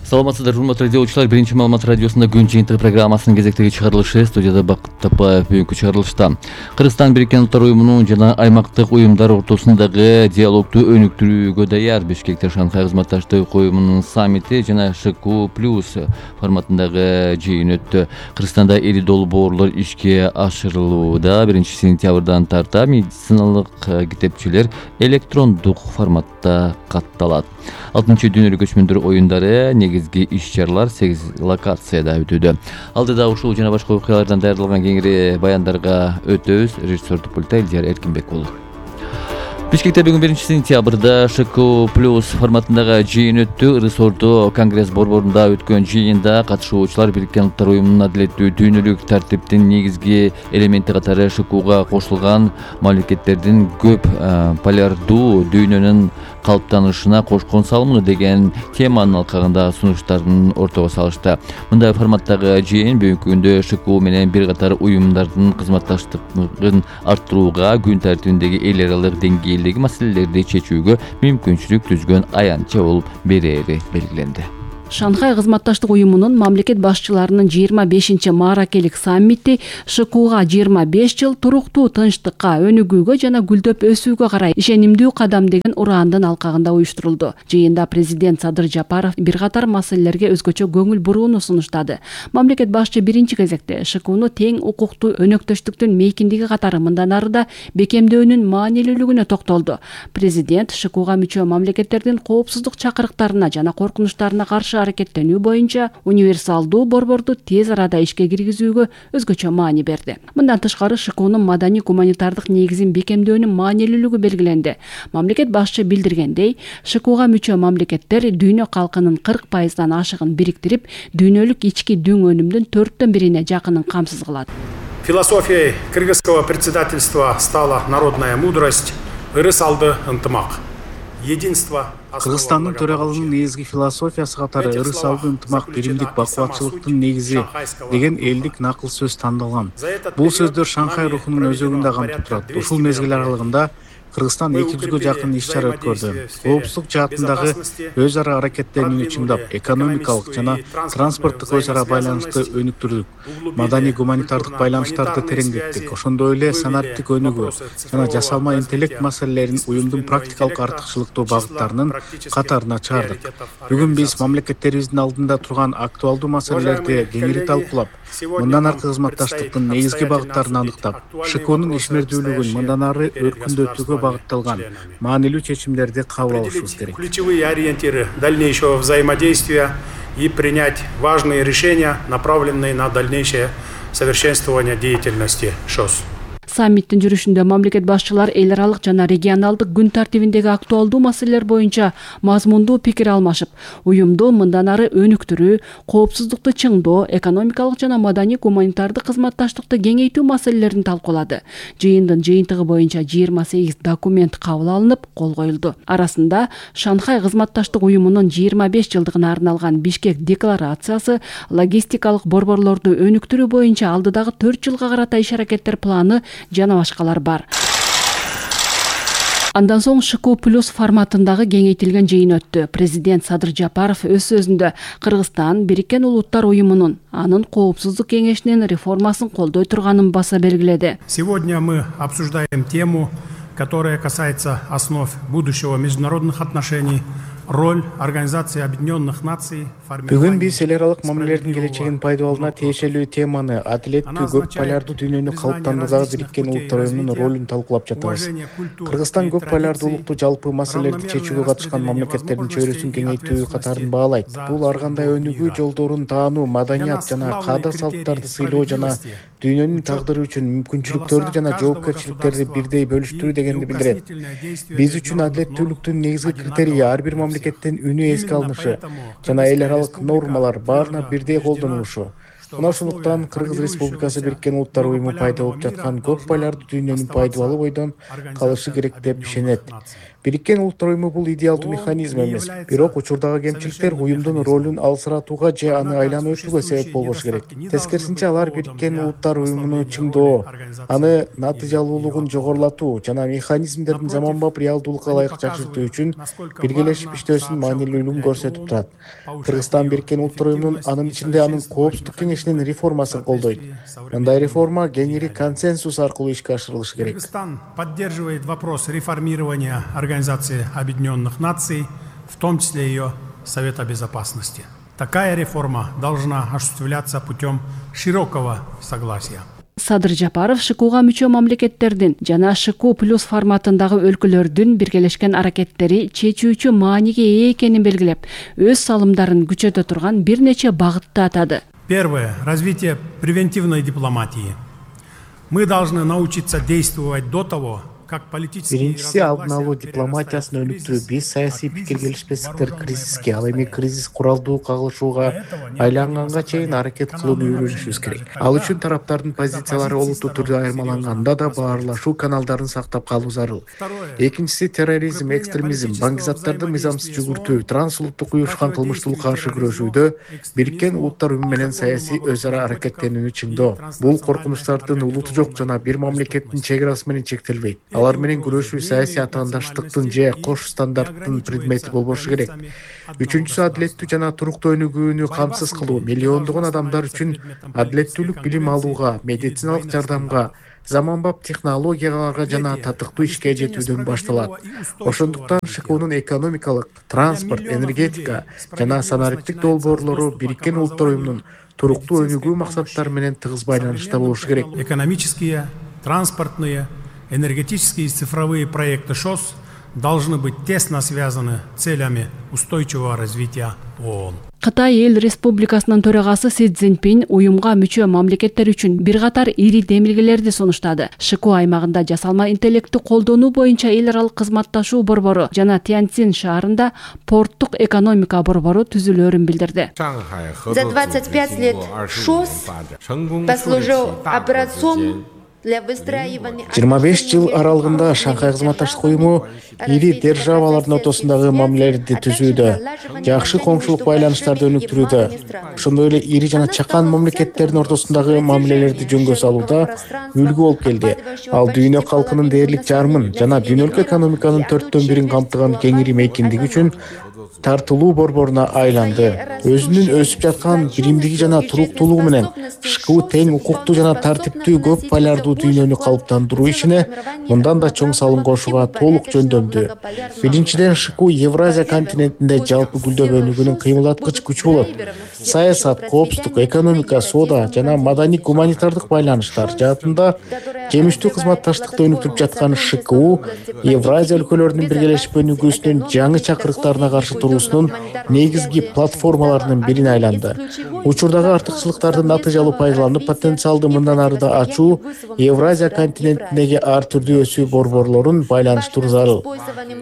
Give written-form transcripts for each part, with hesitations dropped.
Саламатсыздар, урматтуу радиочулар. Биринчи маалымат радиосунда күн жыйынтыгы программасынын кезектеги чыгарылышы. Студияда Бакыт Тапаев. Бүгүнкү чыгарылышта Кыргызстан Бириккен Улуттар уюмунун жана аймактык уюмдар ортосундагы диалогду өнүктүрүүгө даяр. Бишкекте Шанхай кызматташтык уюмунун саммити жана ШКУ+ форматындагы жыйын өттү. Кыргызстанда 50 долбоорлор ишке ашырылууда. 1-сентябрдан тарта медициналык китепчелер электрондук форматта катталат. 6-дүйнөлүк көчмөндөр оюндары негизги иш-чаралар 8 локацияда өтүүдө. Алдыда ушул жана башка окуялардан даярдалган кеңири баяндарга өтөбүз. Режиссер пульта Элдияр Эркинбек болду. Бишкекте бүгүн 1-сентябрда ШКУ+ форматындагы жыйын өттү. Ырыс-Ордо конгресс борборунда өткөн жыйында катышуучулар Бириккен Улуттар уюмунун адилеттүү дүйнөлүк тартиптин негизги элементи катары ШКУга кошулган мамлекеттердин көп полярдуу дүйнөнүн калыптанышына кошкон салымы деген теманын алкагында сунуштарын ортого салышты. Мындай форматтагы жыйын бүгүнкү күндө ШКУ менен бир катар уюмдардын кызматташтыгын арттырууга, күн тартибиндеги эл аралык деңгээлдеги маселелерди чечүүгө мүмкүнчүлүк түзгөн аянтча болуп берери белгиленди. Шанхай кызматташтык уюмунун мамлекет башчыларынын 25-мааракелик саммити ШКУга 25 жыл туруктуу тынчтыкка, өнүгүүгө жана гүлдөп өсүүгө карай ишенимдүү кадам деген ураандын алкагында уюштурулду. Жыйында президент Садыр Жапаров бир катар маселелерге өзгөчө көңүл бурууну сунуштады. Мамлекет башчы биринчи кезекте ШКУну тең укуктуу өнөктөштүктүн мейкиндиги катары мындан ары да бекемдөөнүн маанилүүлүгүнө токтолду. Президент ШКУга мүчө мамлекеттердин коопсуздук чакырыктарына жана коркунучтарына каршы аракеттенүү боюнча универсалдуу борборду тез арада ишке киргизүүгө өзгөчө маани берди. Мындан тышкары ШКУнун маданий гуманитардык негизин бекемдөөнүн маанилүүлүгү белгиленди. Мамлекет башчы билдиргендей, ШКУга мүчө мамлекеттер дүйнө калкынын 40%-дан ашыгын бириктирип, дүйнөлүк ички дүң өнүмдүн 4/1 жакынын камсыз кылат. Философией кыргызского председательства стала народная мудрость, ырыс алды ынтымак. Единство. Кыргызстандын төрагалыгынын негизги философиясы катары ырыс алды ынтымак, биримдик, бакубатчылыктын негизи деген элдик накыл сөз тандалган. Бул сөздөр Шанхай рухунун өзөгүндө камтып турат. Ушул мезгил аралыгында Кыргызстан 200-гө жакын иш-чара өткөрдү. Коопсуздук жаатындагы өз ара аракеттенүүнү чыңдап, экономикалык жана транспорттук өз ара байланышты өнүктүрдүк. Маданий гуманитардык байланыштарды тереңдеттик. Ошондой эле санаттык өнүгүү жана жасалма интеллект маселелерин уюмдун практикалык артыкчылыктуу багыттарынын катарына чыгардык. Бүгүн биз мамлекеттерибиздин алдында турган актуалдуу маселелерди кеңири талкуулап, мындан аркы кызматташтыктын негизги багыттарын аныктап, ШКУнун ишмердүүлүгүн мындан ары өркүндөтүүгө багытталган маанилүү чечимдерди кабыл алышыбыз керек. Ключевые ориентиры дальнейшего взаимодействия и принять важные решения, направленные на дальнейшее совершенствование деятельности ШОС. Саммиттин жүрүшүндө мамлекет башчылар эл аралык жана регионалдык күн тартибиндеги актуалдуу маселелер боюнча мазмундуу пикир алмашып, уюмду мындан ары өнүктүрүү, коопсуздукту чыңдоо, экономикалык жана маданий гуманитардык кызматташтыкты кеңейтүү маселелерин талкуулады. Жыйындын жыйынтыгы боюнча 28 документ кабыл алынып, кол коюлду. Арасында Шанхай кызматташтык уюмунун 25 жылдыгына арналган Бишкек декларациясы, логистикалык борборлорду өнүктүрүү боюнча алдыдагы 4 жылга карата иш-аракеттер планы жана башкалар бар. Андан соң ШКУ+ форматындагы кеңейтилген жыйын өттү. Президент Садыр Жапаров өз сөзүндө Кыргызстан Бириккен Улуттар уюмунун анын коопсуздук кеңешинин реформасын колдой турганын баса белгиледи. Сегодня мы обсуждаем тему, которая касается основ будущего международных отношений, роль Организации Объединенных Наций. Бүгүн биз эл аралык мамилелердин келечегин пайдаланууна тиешелүү теманы, адилеттүү көп полярдуу дүйнөнү калыптандырууга Бириккен Улуттар уюмунун ролун талкуулап жатабыз. Кыргызстан көп полярдуулукту жалпы маселелерди чечүүгө катышкан мамлекеттердин чөйрөсүн кеңейтүү катарын баалайт. Бул ар кандай өнүгүү жолдорун таануу, маданият жана каада-салттарды сыйлоо жана дүйнөнүн тагдыры үчүн мүмкүнчүлүктөрдү жана жоопкерчиликтерди бирдей бөлүштүрүү дегенди билдирет. Биз үчүн адилеттүүлүктүн негизги критерийи ар бир мамлекеттин үнү эске алынышы жана эл аралык нормалар баарына бирдей колдонулушу. Мына ошондуктан Кыргыз Республикасы Бириккен Улуттар Уюму пайда болуп жаткан көп байлардуу дүйнөнүн пайдубалы бойдон калышы керек деп ишенет. Бириккен Улуттар Уюму бул идеалдуу механизм эмес, бирок учурдагы кемчиликтер уюмдун ролун алсыратууга же аны айланып өтүүгө себеп болбошу керек. Тескерисинче алар Бириккен Улуттар Уюмуну чыңдоо, аны натыйжалуулугун жогорулатуу жана механизмдердин заманбап реалдуулукка ылайык жакшыртуу үчүн биргелешип иштөөсүнүн маанилүүлүгүн көрсөтүп турат. Кыргызстан Бириккен Улуттар Уюмунун анын ичинде анын Коопсуздук кеңешинин реформасын колдойт. Мындай реформа кеңири консенсус аркылуу ишке ашырылышы керек. Кыргызстан поддерживает вопрос реформирования Организации Объединенных Наций, в том числе ее Совета Безопасности. Такая реформа должна осуществляться путем широкого согласия. Садыр Жапаров ШКУга мүчө мамлекеттердин жана ШКУ плюс форматындагы өлкөлөрдүн биргелешкен аракеттери чечүүчү мааниге ээ экенин белгилеп, өз салымдарын күчөтө турган бир нече багытты атады. Первое. Развитие превентивной дипломатии. Мы должны научиться действовать до того, Биринчиси алдын алуу дипломатиясын өнүктүрүү. Биз саясий пикир келишпестиктер кризиске, ал эми кризис куралдуу кагылышууга айланганга чейин аракет кылууну үйрөнүшүбүз керек. Ал үчүн тараптардын позициялары олуттуу түрдө айырмаланганда да баарлашуу каналдарын сактап калуу зарыл. Экинчиси терроризм, экстремизм, баңгизаттарды мыйзамсыз жүгүртүү, трансулуттук уюшкан кылмыштуулукка каршы күрөшүүдө Бириккен Улуттар Уюму менен саясий өз ара аракеттенүүнү чыңдоо. Бул коркунучтардын улуту жок жана бир мамлекеттин чек арасы менен чектелбейт. Алар менен күрөшүү саясий атаандаштыктын же кош стандарттын предмети болбошу керек. Үчүнчүсү адилеттүү жана туруктуу өнүгүүнү камсыз кылуу. Миллиондогон адамдар үчүн адилеттүүлүк билим алууга, медициналык жардамга, заманбап технологияларга жана татыктуу ишке жетүүдөн башталат. Ошондуктан ШКУнун экономикалык, транспорт, энергетика жана санариптик долбоорлору Бириккен Улуттар Уюмунун туруктуу өнүгүү максаттары менен тыгыз байланышта болушу керек. Экономические, транспортные, энергетические и цифровые проекты ШОС должны быть тесно связаны с целями устойчивого развития ООН. Кытай Эл Республикасынын төрагасы Си Цзиньпин уюмга мүчө мамлекеттер үчүн бир катар ири демилгелерди сунуштады. ШКУ аймагында жасалма интеллектти колдонуу боюнча эл аралык кызматташуу борбору жана Тяньцзин шаарында порттук экономика борбору түзүлөрүн билдирди. За 25 лет ШОС послужил образцом 25 жыл аралыгында Шанхай кызматташтык уюму ири державалардын ортосундагы мамилелерди түзүүдө, жакшы коңшулук байланыштарды өнүктүрүүдө, ошондой эле ири жана чакан мамлекеттердин ортосундагы мамилелерди жөнгө салууда үлгү болуп келди. Ал дүйнө калкынын дээрлик жарымын жана дүйнөлүк экономиканын 4/1 камтыган кеңири мейкиндиги үчүн тартылуу борборуна айланды. Өзүнүн өсүп жаткан биримдиги жана туруктуулугу менен ШКУ тең укуктуу жана тартиптүү көп байлардуу дүйнөнү калыптандыруу ишине мындан да чоң салым кошууга толук жөндөмдү. Биринчиден, ШКУ Евразия континентинде жалпы гүлдөп өнүгүүнүн кыймылдаткыч күчү болот. Саясат, коопсуздук, экономика, соода жана маданий-гуманитардык байланыштар жаатында жемиштүү кызматташтыкты өнүктүрүп жаткан ШКУ Евразия өлкөлөрүнүн биргелешип өнүгүүсүнүн жаңы чакырыктарына каршы туруусунун негизги платформаларынын бирине айланды. Учурдагы артыкчылыктарды натыйжалуу пайдаланып, потенциалды мындан ары да ачуу Евразия континентиндеги ар түрдүү өсүү борборлорун байланыштыруу зарыл.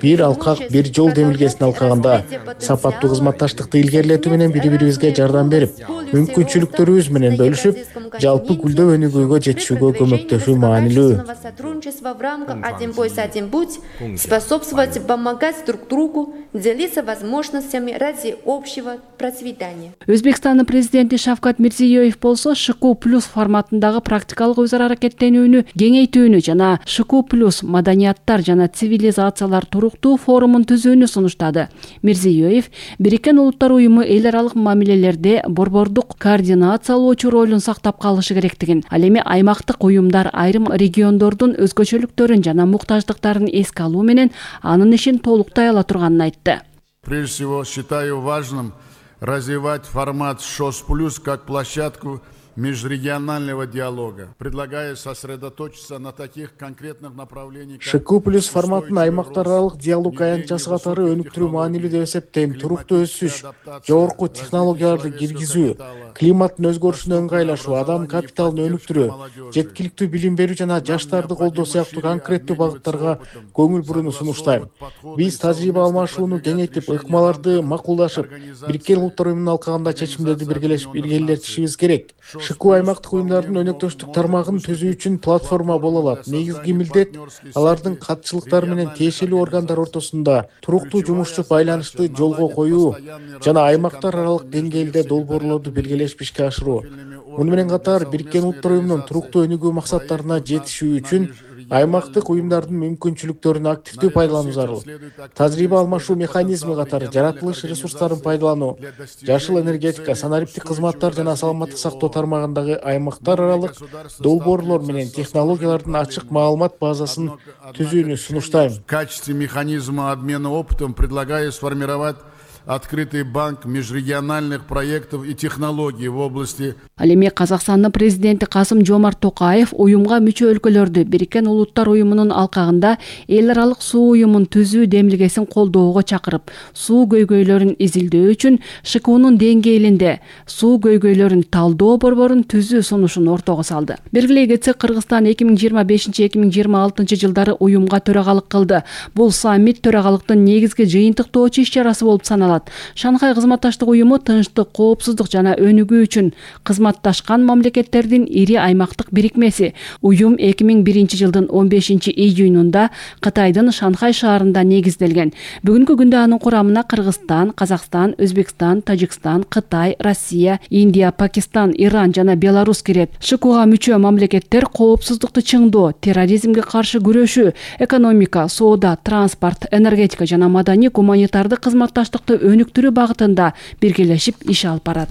Бир алкак, бир жол демилгесин алкаганда сапаттуу кызматташтыкты илгерилетүү менен бири-бирибизге жардам берип, мүмкүнчүлүктөрүбүз менен бөлүшүп, жалпы гүлдөп өнүгүүгө жетишүүгө көмөктөшүү маанилүү. Сотрудничество в рамках «Один пояс, один путь» способствовать и помогать друг другу, делиться возможностями ради общего процветания. Өзбекстандын президенти Шавкат Мирзиёев болсо ШКУ плюс форматындагы практикалык өз ара аракеттенүүнү кеңейтүүнү жана ШКУ плюс маданияттар жана цивилизациялар туруктуу форумун түзүүнү сунуштады. Мирзиёев Бириккен Улуттар Уюму эл аралык мамилелерде борбордук координациялоочу ролун сактап калышы керектигин, ал эми аймактык уюмдар айрым региондордун өзгөчөлүктөрүн жана муктаждыктарын эске алуу менен анын ишин толуктай ала турганын айтты. Прежде всего, считаю важным развивать формат ШОС Плюс как площадку межрегионального диалога, предлагая сосредоточиться на таких конкретных направлениях. ШКУ плюс форматын аймактар аралык диалог аянтчасы катары өнүктүрүү маанилүү деп эсептейм. Туруктуу өсүш, жогорку технологияларды киргизүү, климаттын өзгөрүшүнө ыңгайлашуу, адам капиталын өнүктүрүү, жеткиликтүү билим берүү жана жаштарды колдоо сыяктуу конкреттүү багыттарга көңүл бурууну сунуштайм. Биз тажрыйба алмашууну кеңейтип, ыкмаларды макулдашып, Бириккен Улуттар Уюмунун алкагында чечимдерди биргелешип илгерилетишибиз керек. ШКУ аймактык уюмдардын өнөктөштүк тармагын түзүү үчүн платформа боло алат. Негизги милдет алардын катчылыктары менен тиешелүү органдар ортосунда туруктуу жумушчу байланышты жолго коюу жана аймактар аралык деңгээлде долбоорлорду белгилешип ишке ашыруу. Муну менен катар Бириккен Улуттар уюмунун туруктуу өнүгүү максаттарына жетишүү үчүн аймактык уюмдардын мүмкүнчүлүктөрүн активдүү пайдалануу зарыл. Тажрыйба алмашуу механизми катары жаратылыш ресурстарын пайдалануу, жашыл энергетика, санариптик кызматтар жана саламаттык сактоо тармагындагы аймактар аралык долбоорлор менен технологиялардын ачык маалымат базасын түзүүнү сунуштайм. В качестве механизма обмена опытом предлагаю сформировать открытый банк межрегиональных проектов и технологий в области. Ал эми Казакстандын президенти Касым-Жомарт Токаев уюмга мүчө өлкөлөрдү Бириккен Улуттар уюмунун алкагында эл аралык суу уюмун түзүү демилгесин колдоого чакырып, суу көйгөйлөрүн изилдөө үчүн ШКУнун деңгээлинде суу көйгөйлөрүн талдоо борборун түзүү сунушун ортого салды. Белгилей кетсек, Кыргызстан 2025-2026 жылдары уюмга төрагалык кылды. Бул саммит төрагалыктын негизги жыйынтыктоочу иш-чарасы болуп саналат. Шанхай кызматташтык уюму тынчтык, коопсуздук жана өнүгүү үчүн кызматташкан мамлекеттердин ири аймактык бирикмеси. Уюм 2001 жылдын 15 июнунда Кытайдын Шанхай шаарында негизделген. Бүгүнкү күндө анын курамына Кыргызстан, Казакстан, Өзбекстан, Тажикстан, Кытай, Россия, Индия, Пакистан, Иран жана Беларусь кирет. ШКУга мүчө мамлекеттер коопсуздукту чыңдоо, терроризмге каршы күрөшүү, экономика, соода, транспорт, энергетика жана маданий гуманитардык кызматташтыкты өнүктүрүү багытында биргелешип иш алып барат.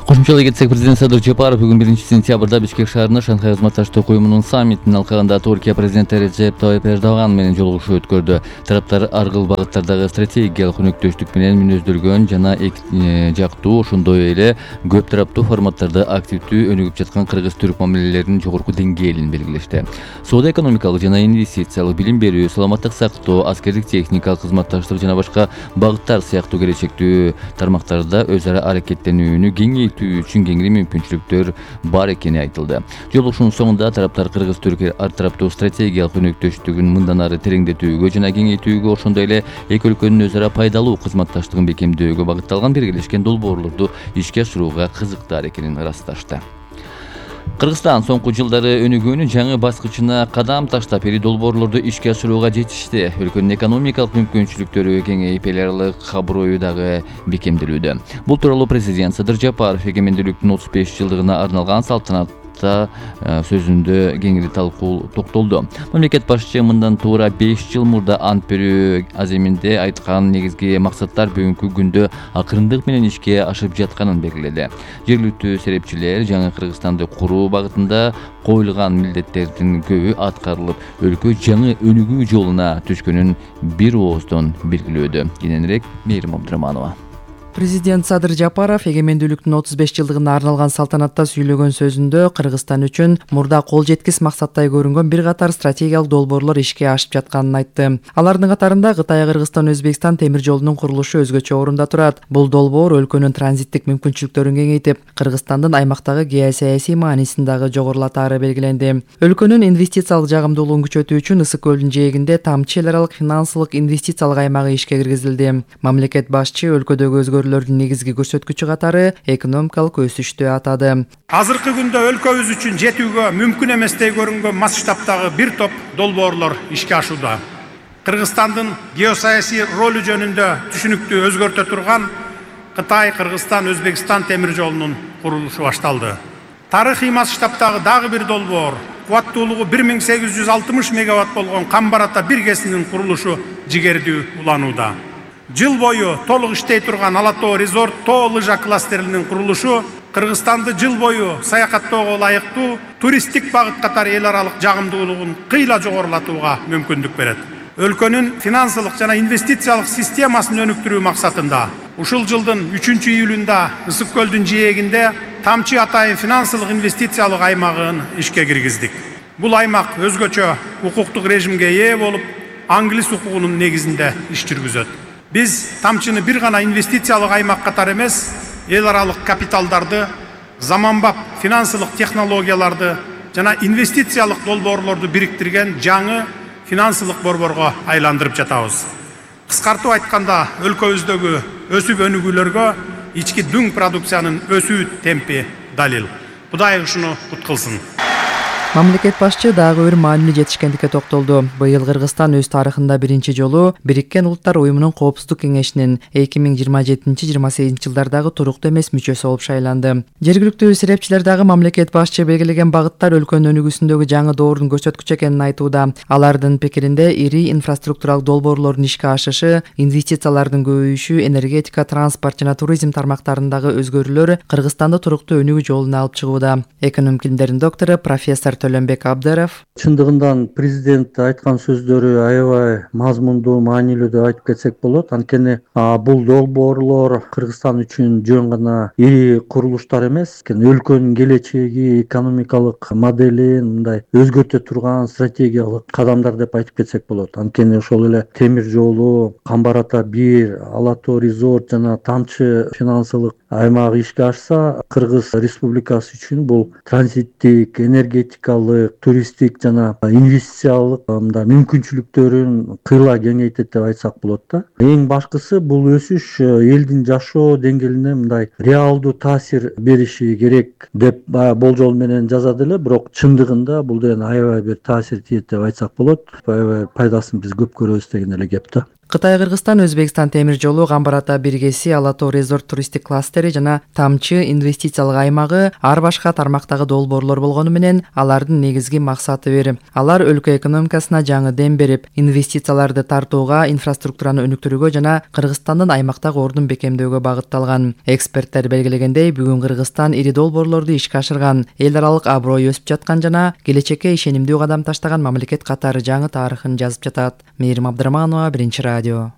Кошумчалай кетсек, президент Садыр Жапаров бүгүн 1 сентябрда Бишкек шаарында Шанхай кызматташтык уюмунун саммитинин алкагында Туркия президенти Режеп Тайып Эрдоган менен жолугушуу өткөрдү. Тараптар ар кыл багыттардагы стратегиялык өнөктөштүк менен мүнөздөлгөн жана жактуу, ошондой эле көп тараптуу форматтарда активдүү өнүгүп жаткан кыргыз-түрк мамилелеринин жогорку деңгээлин белгилешти. Соода экономикалык жана инвестициялык, билим берүү, саламаттык сактоо, аскердик техникалык кызматташтык жана башка багыттар сыяктуу келечектүү тармактарда өз ара аракеттенүүнү кеңейтүү үчүн кеңири мүмкүнчүлүктөр бар экени айтылды. Жолугушуунун соңунда тараптар кыргыз-түрк ар тараптуу стратегиялык өнөктөштүгүн мындан ары тереңдетүүгө жана кеңейтүүгө, ошондой эле эки өлкөнүн өз ара пайдалуу кызматташтыгын бекемдөөгө багытталган биргелешкен долбоорлорду ишке ашырууга кызыктар экенин ырасташты. Кыргызстан соңку жылдары өнүгүүнүн жаңы баскычына кадам таштап, ири долбоорлорду ишке ашырууга жетишти. Өлкөнүн экономикалык мүмкүнчүлүктөрү кеңейип, эл аралык аброю дагы бекемделүүдө. Бул тууралуу президент Садыр Жапаров эгемендүүлүктүн 35 жылдыгына арналган салтанатта сөзүндө кеңири токтолду. Мамлекет башчы мындан туура 5 жыл мурда ант берүү аземинде айткан негизги максаттар бүгүнкү күндө акырындык менен ишке ашып жатканын белгиледи. Жергиликтүү серепчилер жаңы Кыргызстанды куруу багытында коюлган милдеттердин көбү аткарылып, өлкө жаңы өнүгүү жолуна түшкөнүн бир ооздон белгилөөдө. Кененирээк Мээрим Абдыраманова. Президент Садыр Жапаров эгемендүүлүктүн 35 жылдыгына арналган салтанатта сүйлөгөн сөзүндө Кыргызстан үчүн мурда кол жеткис максаттай көрүнгөн бир катар стратегиялык долбоорлор ишке ашып жатканын айтты. Алардын катарында Кытай, Кыргызстан, Өзбекстан темир жолунун курулушу өзгөчө орунда турат. Бул долбоор өлкөнүн транзиттик мүмкүнчүлүктөрүн кеңейтип, Кыргызстандын аймактагы геосаясий маанисин дагы жогорулатаары белгиленди. Өлкөнүн инвестициялык жагымдуулугун күчөтүү үчүн Ысык көлдүн жээгинде тамчы эл аралык финансылык инвестициялык аймагы ишке киргизилди. Мамлекет башчы өлкөдөгү негизги көрсөткүчү катары экономикалык өсүштү атады. Азыркы күндө өлкөбүз үчүн жетүүгө мүмкүн эместей көрүнгөн масштабтагы бир топ долбоорлор ишке ашууда. Кыргызстандын геосаясий ролу жөнүндө түшүнүктү өзгөртө турган Кытай, Кыргызстан, Өзбекстан темир жолунун курулушу башталды. Тарыхый масштабтагы дагы бир долбоор, кубаттуулугу 1860 мегаватт болгон Камбар-Ата 1 КЭСинин курулушу жигердүү уланууда. Жыл бою толук иштей турган Ала-Тоо резорт тоо лыжа кластеринин курулушу Кыргызстанды жыл бою саякаттоого ылайыктуу туристтик багыт катары эл аралык жагымдуулугун кыйла жогорулатууга мүмкүндүк берет. Өлкөнүн финансылык жана инвестициялык системасын өнүктүрүү максатында ушул жылдын 3-июлунда Ысык көлдүн жээгинде Тамчы Атайын финансылык инвестициялык аймагын ишке киргиздик. Бул аймак өзгөчө укуктук режимге ээ болуп, англис укугунун негизинде иш жүргүзөт. Биз Тамчыны бир гана инвестициялык аймак катары эмес, эл аралык капиталдарды, заманбап финансылык технологияларды жана инвестициялык долбоорлорду бириктирген жаңы финансылык борборго айландырып жатабыз. Кыскартып айтканда, өлкөбүздөгү өсүп өнүгүүлөргө ички дүң продукциянын өсүү темпи далил. Кудай ушуну куткылсын. Мамлекет башчы дагы бир маанилүү жетишкендикке токтолду. Быйыл Кыргызстан өз тарыхында биринчи жолу Бириккен Улуттар Уюмунун Коопсуздук кеңешинин 2027-28 жылдардагы туруктуу эмес мүчөсү болуп шайланды. Жергиликтүү серепчилер дагы мамлекет башчы белгилеген багыттар өлкөнүн өнүгүүсүндөгү жаңы доордун көрсөткүчү экенин айтууда. Алардын пикиринде ири инфраструктуралык долбоорлордун ишке ашышы, инвестициялардын көбөйүшү, энергетика, транспорт жана туризм тармактарындагы өзгөрүүлөр Кыргызстанды туруктуу өнүгүү жолуна алып чыгууда. Экономика илимдеринин доктору профессор Төлөнбек Абдыров чындыгында президент айткан сөздөрү аябай мазмундуу, маанилүү деп айтып кетсек болот. Анткени бул долбоорлор Кыргызстан үчүн жөн гана ири курулуштар эмес, өлкөнүн келечеги, экономикалык моделин мындай өзгөртө турган стратегиялык кадамдар деп айтып кетсек болот. Анткени ошол эле темир жолу, Камбар Ата 1, Ала Тоо резорт жана Тамчы финансылык аймагы ишке ашса, Кыргыз Республикасы үчүн бул транзиттик, энергетикалык, туристтик жана инвестициялык мүмкүнчүлүктөрүн кыйла кеңейтет деп айтсак болот да. Эң башкысы бул өсүш элдин жашоо деңгээлине мындай реалдуу таасир бериши керек деп болжол менен жазат эле, бирок чындыгында бул деген аябай бир таасир тиет деп айтсак болот. Аябай пайдасын биз көп көрөбүз деген эле кеп да. Кытай, Кыргызстан, Өзбекстан темир жолу, Камбар Ата биргеси, Ала Тоо резорт туристтик кластери жана Тамчы инвестициялык аймагы ар башка тармактагы долбоорлор болгону менен алардын негизги максаты бир. Алар өлкө экономикасына жаңы дем берип, инвестицияларды тартууга, инфраструктураны өнүктүрүүгө жана Кыргызстандын аймактагы ордун бекемдөөгө багытталган. Эксперттер белгилегендей, бүгүн Кыргызстан ири долбоорлорду ишке ашырган, эл аралык аброй өсүп жаткан жана келечекке ишенимдүү кадам таштаган мамлекет катары жаңы тарыхын жазып жатат. Мээрим Абдрахманова, Биринчи радио.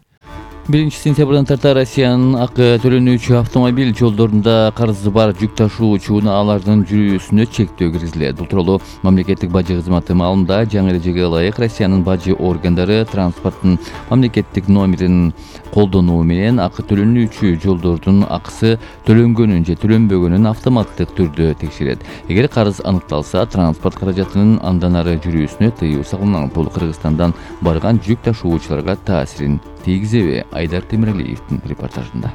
1 сентябрдан тарта Россиянын акы төлөнүүчү автомобиль жолдорунда карызы бар жүк ташуу учуналардын жүрүүсүнө чектөө киргизилет. Бул тууралуу мамлекеттик бажы кызматы маалында жаңы эрежеге ылайык Россиянын бажы органдары транспорттун мамлекеттик номерин колдонуу менен акы төлөнүүчү жолдордун акысы төлөнгөнүн же төлөнбөгөнүн автоматтык түрдө текшерет. Эгер карыз аныкталса, транспорт каражатынын андан ары жүрүүсүнө тыюу салынат. Бул Кыргызстандан барган жүк ташуучуларга таасирин тийгизеби? Айдар Темиралиевдин репортажында.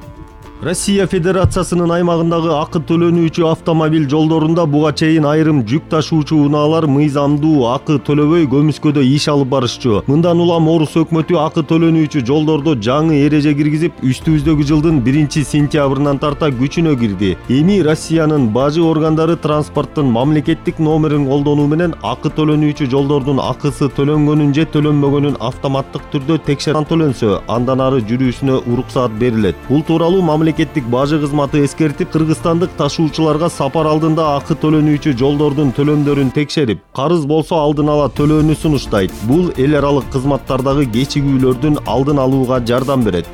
Россия Федерациясынын аймагындагы акы төлөнүүчү автомобиль жолдорунда буга чейин айрым жүк ташуучу унаалар мыйзамдуу акы төлөбөй көмүскөдө иш алып барышчу. Мындан улам Орус өкмөтү акы төлөнүүчү жолдордо жаңы эреже киргизип, үстүбүздөгү жылдын 1 сентябрынан тарта күчүнө кирди. Эми Россиянын бажы органдары транспорттун мамлекеттик номерин колдонуу менен акы төлөнүүчү жолдордун акысы төлөнгөнүн же төлөнбөгөнүн автоматтык түрдө текшерип төлөнсө, андан ары жүрүүсүнө уруксаат берилет. Бул тууралуу мамлекеттик бажы кызматы эскертип, кыргызстандык ташуучуларга сапар алдында акы төлөнүүчү жолдордун төлөмдөрүн текшерип, карыз болсо алдын ала төлөөнү сунуштайт. Бул эл аралык кызматтардагы кечигүүлөрдүн алдын алууга жардам берет.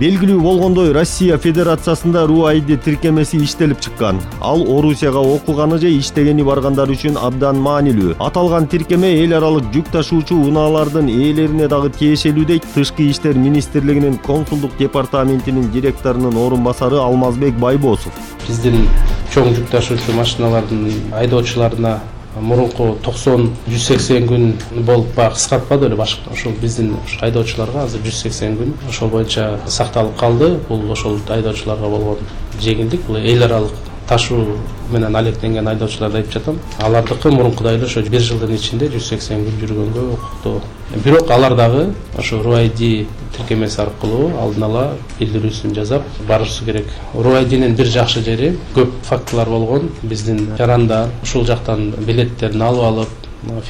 Белгилүү болгондой, Россия Федерациясында РУ-ID тиркемеси иштелип чыккан. Ал Орусияга окуганы же иштегени баргандар үчүн абдан маанилүү. Аталган тиркеме эл аралык жүк ташуучу унаалардын ээлерине дагы тиешелүү дейт Тышкы иштер министрлигинин консулдук департаментинин директорунун орун басары Алмазбек Байбосов. Биздин чоң жүк ташуучу машиналардын айдоочуларына мурунку 90-180 күн болуп кыскартпады эле башка. Ошол биздин айдоочуларга азыр 180 күн ошол боюнча сакталып калды. Бул ошол айдоочуларга болгон жеңилдик. Бул эл аралык ташуу менен алектенген айдоочуларды айтып жатам. Алардыкы мурункудай эле ошо 1 жылдын ичинде 180 күн жүргөнгө укуктуу. Бирок алар дагы ошо РУ-ID тиркемеси аркылуу алдын ала билдирүүсүн жасап барышы керек. РУ-IDнин бир жакшы жери көп фактылар болгон. Биздин жарандар ушул жактан билеттерин алып алып,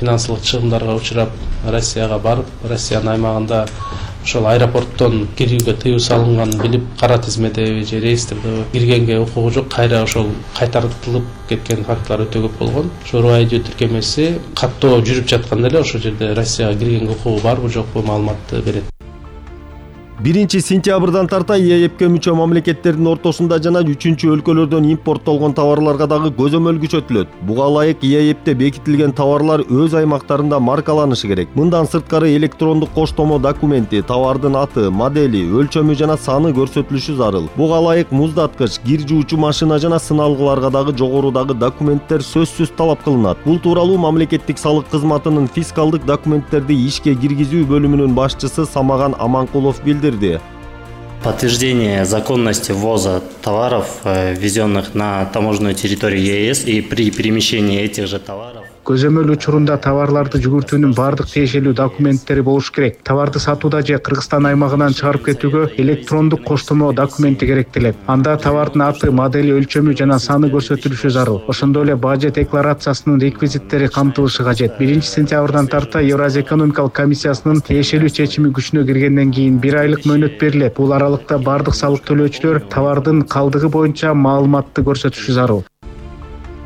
финансылык чыгымдарга учурап, Россияга барып, Россиянын аймагында ошол аэропорттон кирүүгө тыюу салынганын билип, кара тизмеде же реестрде киргенге укугу жок, кайра ошол кайтартылып кеткен фактылар өтө көп болгон. Ошо РУ-ID тиркемеси каттоо жүрүп жатканда эле ошол жерде Россияга киргенге укугу барбы жокпу маалыматты берет. 1-сентябрдан тарта ЕЭПке мүчө мамлекеттердин ортосунда жана 3-өлкөлөрдөн импорттолгон товарларга дагы көзөмөл күчөтүлөт. Буга ылайык ЕЭПте бекитилген товарлар өз аймактарында маркаланышы керек. Мындан сырткары электрондук коштомо документи, товардын аты, модели, өлчөмү жана саны көрсөтүлүшү зарыл. Буга ылайык муздаткыч, кир жуучу машина жана сыналгыларга дагы жогорудагы документтер сөзсүз талап кылынат. Бул тууралуу мамлекеттик салык кызматынын фискалдык документтерди ишке киргизүү бөлүмүнүн башчысы Самаган Аманкулов билдирди. Подтверждение законности ввоза товаров, ввезенных на таможенную территорию ЕС, и при перемещении этих же товаров. Көзөмөл учурунда товарларды жүгүртүүнүн бардык тиешелүү документтери болуш керек. Товарды сатууда же Кыргызстан аймагынан чыгарып кетүүгө электрондук коштомо документи керектелет. Анда товардын аты, модели, өлчөмү жана саны көрсөтүлүшү зарыл. Ошондой эле бажы декларациясынын реквизиттери камтылышы кажет. 1-сентябрдан тарта Евразия экономикалык комиссиясынын тиешелүү чечими күчүнө киргенден кийин 1 айлык мөөнөт берилет. Бул аралыкта бардык салык төлөөчүлөр товардын калдыгы боюнча маалыматты көрсөтүшү зарыл.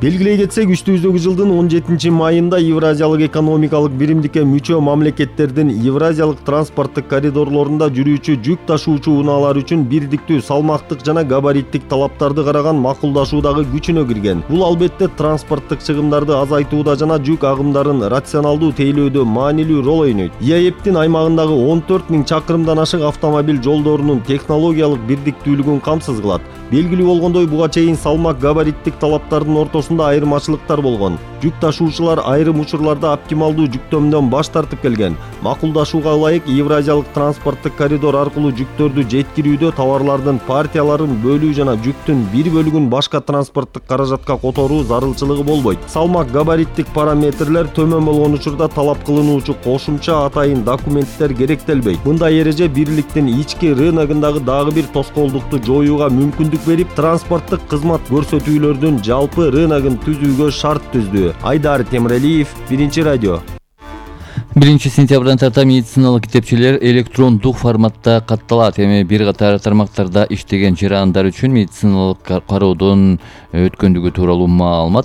Белгилей кетсек, үстүбүздөгү жылдын 17-майында Евразиялык экономикалык биримдикке мүчө мамлекеттердин Евразиялык транспорттук коридорлорунда жүрүүчү жүк ташуучу унаалар үчүн бирдиктүү салмактык жана габариттик талаптарды караган макулдашуудагы күчүнө кирген. Бул албетте транспорттук чыгымдарды азайтууда жана жүк агымдарын рационалдуу тейлөөдө маанилүү рол ойнойт. ЕЭПтин аймагындагы 14 000 чакырымдан ашык автомобиль жолдорунун технологиялык бирдиктүүлүгүн камсыз кылат. Белгилүү болгондой, буга чейин салмак габариттик талаптардын ортосунда айырмачылыктар болгон. Жүк ташуучулар айрым учурларда оптималдуу жүктөмдөн баш тартып келген. Макулдашууга ылайык Евразиялык транспорттук коридор аркылуу жүктөрдү жеткирүүдө товарлардын партияларын бөлүү жана жүктүн бир бөлүгүн башка транспорттук каражатка которуу зарылчылыгы болбойт. Салмак габариттик параметрлер төмөн болгон учурда талап кылынуучу кошумча атайын документтер керектелбейт. Мындай эреже бирликтин ички рыногундагы дагы бир тоскоолдукту жоюуга мүмкүндүк берип, транспорттук кызмат көрсөтүүлөрдүн жалпы рыногун түзүүгө шарт түздү. Айдар Темиралиев, 1-радио. 1-сентябрдан тарта медициналык китепчелер электрондук форматта катталат. Эми бир катар тармактарда иштеген жарандар үчүн медициналык кароодон өткөндүгү тууралуу маалымат